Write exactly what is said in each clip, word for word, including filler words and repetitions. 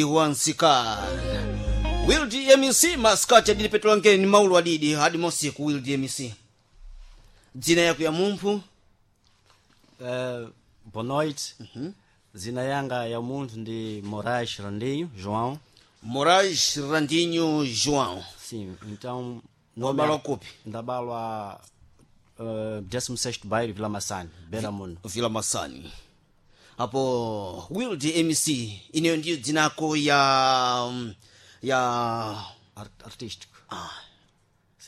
Wansikana Wild M C masikati adili petulangeni ni maulu adidi hadi mosiku. Wild M C, dzina yako ya mumphu? Uh, boa noite. Zina yanga ya munthu ndi Moraes Randinho João. Moraes Randinho João. Sim, então. Wabalwa kupi? Ndabalwa uh, dezesseis bairro, Vila Massane, Beira Muno. Vila Masani. Apo Wild M C, ineyo ndiyo dzinako ya ya Art artístico.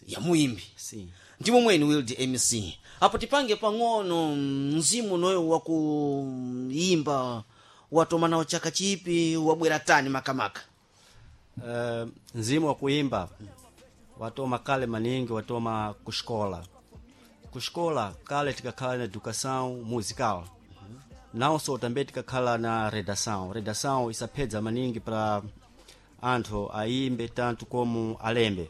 Ya muimbi? Sim. Ndimo mwene Wild M C. Apo tipange pang'ono mzimu noyo wakuimba, watoma nawo chaka chipi? Wabwera tani makamaka? Uh, mzimu wa kuimba watoma kale maningi, watoma kuxikola. Kuxikola kale tikakhala na educação musical, não só também tikakhala na redação. Redação isaphedza maningi para anthu aimbe tanto como alembe.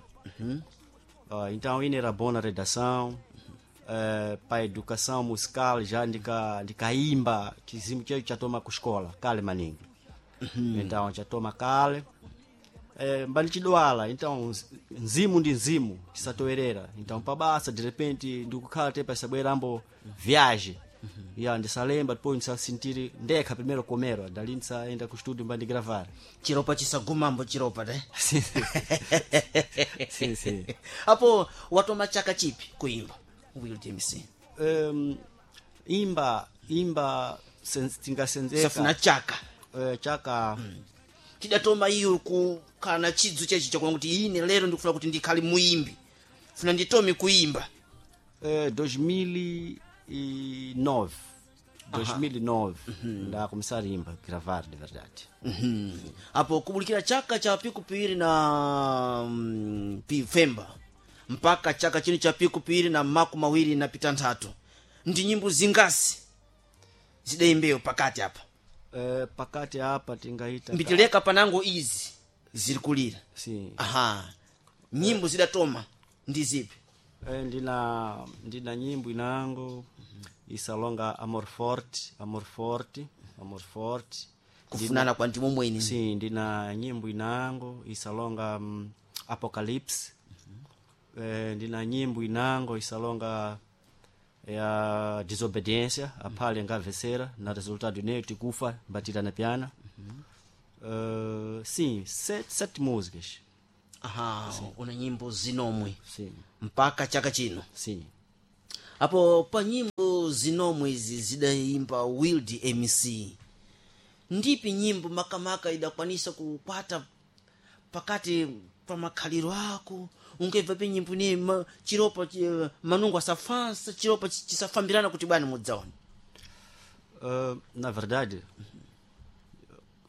Uh, então ine era bom na redação, uh, pa educação musical já ndika ndikaimba. Chizimu checho chatoma kuxikola kale maningi, então chatoma kale eh, mbalichidwala. Então nzimu ndi nzimu chisatowerera. Então pabasa de repente ndikukhala te pasabwerambo viagem ya ndisalemba, depois ndisasintiri ndekha primeiro comero dali ndisaenda ku studio mbandigravar. Chiropa chisagumambo chiropa te. Sim, sim. Apo watoma chaka chipi kuimba, Wild M C? um, imba imba sen- tingasenzeka. Safuna chaka. eh, chaka Chidatoma iyo kukhala na chidzu chechi chakuona kuti ine lero ndikufuna kuti ndikhale muimbi, funa nditome kuimba? Eh, dois mil e nove, dois mil e nove nda começar a imba, gravar de verdade. Mhm. Apo kubulikira chaka cha piku piwiri na mm, pifemba mpaka chaka chino cha piku piwiri na maku mawiri na pitanthatu, ndi nyimbo zingasi zidayimbeyo pakati apa? Eh, pakati apa tingaita Mbitileka panango izi ziri kulira. Sim. Aha, nyimbo zidatoma ndi zipi? Eh, ndina ndina nyimbo inango isalonga Amor Forte, Amor Forte, Amor Forte. Kufunana kwa ndimo mwene. Sim, ndina nyimbo inango isalonga um, Apocalipse. Eh, ndina nyimbo inango isalonga ya Desobediência, aphale ngavesera na resultado ineyo tikufa mbatira na piana. Uh, sim, sete, sete músicas. Aha, una nyimbo zinomwe? Sim. Mpaka chaka chino? Sim. Apo pa nyimbo zinomwe izi zidayimba Wild M C, ndipi nyimbo makamaka idakwanisa kukwata pakati pa makhaliro ako? Ungemva pe nyimbo ni ma, chiropa chi, manungo asafansa chiropa chi- chisafambirana kuti bwana mudzaona? Uh, na verdade,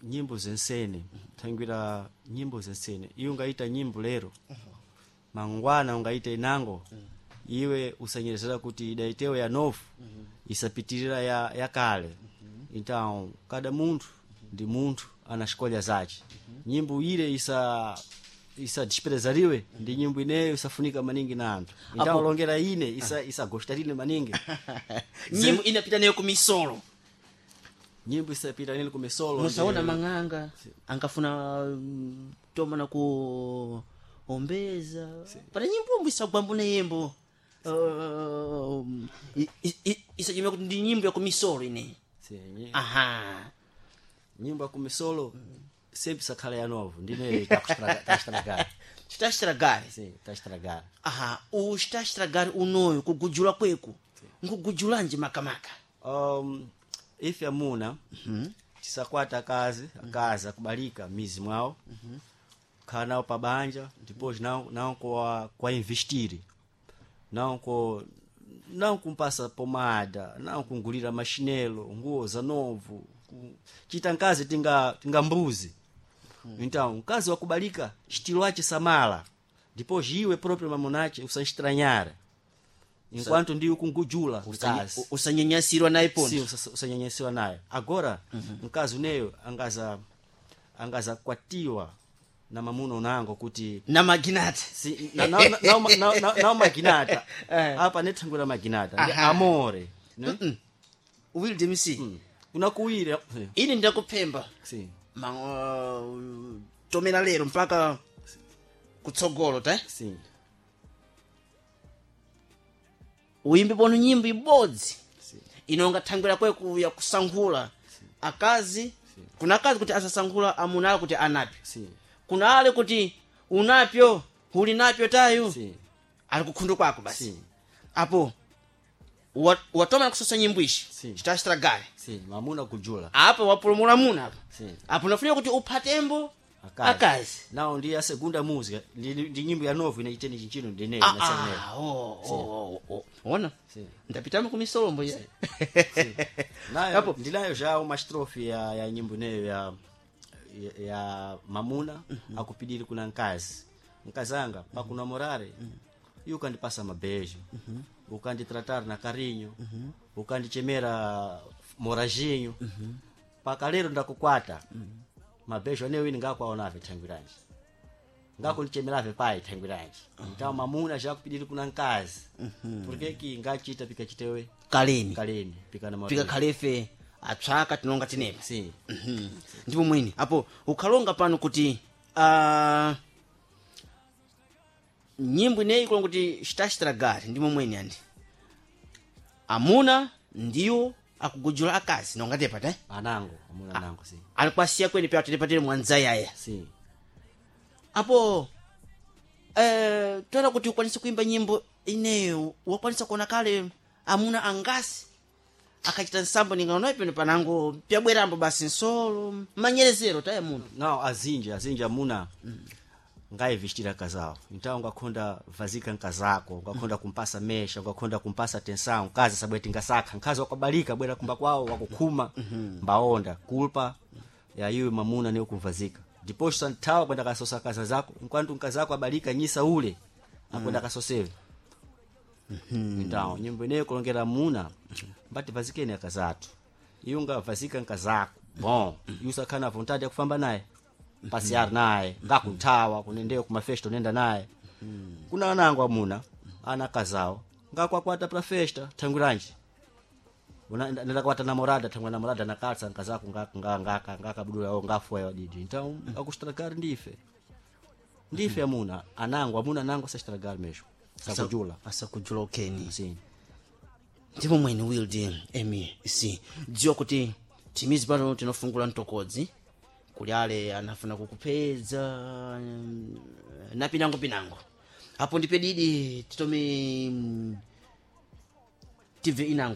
nyimbo zensene thangwira nyimbo zensene iwe ungaita nyimbo lero, mangwana ungaita inango. Iwe usanyerezera kuti idaitewo ya novo isapitirira ya, ya kale. Então cada munthu ndi munthu ana escolha zace. Nyimbo ile isa isa desprezariwe ndi nyimbo ineyo isafunika maningi na anthu. Então Apo- longera ine isa isagostarile maningi. Nyimbo inapita nayo kumisolo? Nyimbo isapita nili kumisolo. Musaona ndi- mang'anga angafuna mm, toma na ku ombeza pana nyimbo isagwambo na yembo uh, i- i- i- isachimia kuti ndi nyimbo ya kumisolo ine. Sim, nyi- Aha. nyimbo ya kumisolo sempre sakhala ya novo ndine takuestragar. Chitachitragare. Sim, taestragar. Aha, uchitachitragare unoyo kugujula kweku nkugujulanji makamaka? um, ife amuna tisakwata akazi, akazi akubalika mizi mwawo, khala nawo pabanja, depois não não kwa kwa investir, não ko não kumpasa pomada, não kungulira machinelo, nguo za novo, ku- chita nkazi tinga tinga mbuzi. Então mkazi wakubalika estilo ache samala, depois iwe próprio mamunache usaestranyara enquanto ndiwe kungujula mkazi. Usanyanyasirwa naye Sim, pondo. usa- usanyanyasiwa naye. Agora mkazi uneyo angaza angaza kwatiwa na mamuno unango kuti Na maginati. si, na, na, na, na, na, na, na maginata. Eh. Apa nethangwira maginata ndi Aha. amore ne? Wild M C, Unakuwira. ine ndakuphemba. Sim. Ma, uh, tomera lero mpaka kutsogolo te Sim. uyimbe pono nyimbo ibodzi Sim. inonga thangwera kweku ya kusankhula akazi kuna akazi kuti asasankhula amuna ale kuti anapyo Sim. kuna ale kuti unapyo uli napyo tayu Sim. ali kukhundu kwako basi Sim. apo wa- watoma kusosa nyimbo ishi Sim. chitachitragale Sim. Mamuna kujula. apo wapulumula muna apa Sim. apo nafunika kuti uphatembo Akazi. akazi Não, ndi a segunda música, ndi, ndi nyimbo ya novo inaiteni chinchino ndineyo Ah, naseneyo. ah, oh, oh, oh, oh. ona Sim. ndapitamo kumisolombo ya Nayo, Apo. ndinayo já uma estrofe ya, ya nyimbo ineyo ya, ya, ya mamuna mm -hmm. akupidiri kuna nkazi nkazanga pakunamorare mm -hmm. iwe ukandipasa mabejo mm -hmm. ukanditratar na carinho mm -hmm. ukandichemera morajinho mm -hmm. paka lero ndakukwata mm -hmm. mabejo aneyo ini ngakwaonave thangwiranji ngakundichemerave pai thangwiranji então mamuna já kupidiri kuna nkazi porque que ngachita pikachitewe kaleni kaleni pikanamorare pikakhalefe atswaka tinonga tinepa sim Mhm. ndipo mwini apo ukhalonga pano kuti ah, nyimbo ineyi kulonga kuti chitachitragari ndimo mwini andi amuna ndiwo akugujula akazi nonga tepa te anango amuna anango sim ali kwasiya kweni pya telepatire mwanzayaya sim apo eh, toera kuti ukwanise kuimba nyimbo ineyo wakwanisa kuona kale amuna angasi akachita nsambo ningaonayo pano panango pyabwerambo basi nsolo manyerezero taye munthu não azinji azinji amuna ngaivestira casal então ngakhonda vazika nkazako ngakhonda kumpasa mesha ngakhonda kumpasa tensão nkazi sabweti ngasakha nkazi wakabalika bwera kumba kwawo wakukhuma mbaonda culpa ya iwe mamuna niyo kumvazika depois santhawa kwenda kasosa kaza zako enquanto nkazako abalika nyisa ule akwenda kasosewe então nyimbo ineyo kulongera muna mbati vazikeni akazatu iwe ungavazika nkazako bom iwe sakhala na vontade yakufamba naye pasiar naye ngakunthawa kunendeyo kumafesta unenda naye kuna anango amuna ana akazawo ngakwakwata pra festa thangwiranji ndakwata namorada thangwe namorada nakatsa nkazako ngakabudula ngafoya wadidi então akustragar ndife ndife amuna anango amuna anango sastragar mesmo sakujula asakujula okeni sim ndipo mwene wild mec dziwa kuti timizi pano tinofungula mtokodzi kuli ale anafuna kukupedza mm, na pinango pinango apo ndipe didi titome mm, tibve inango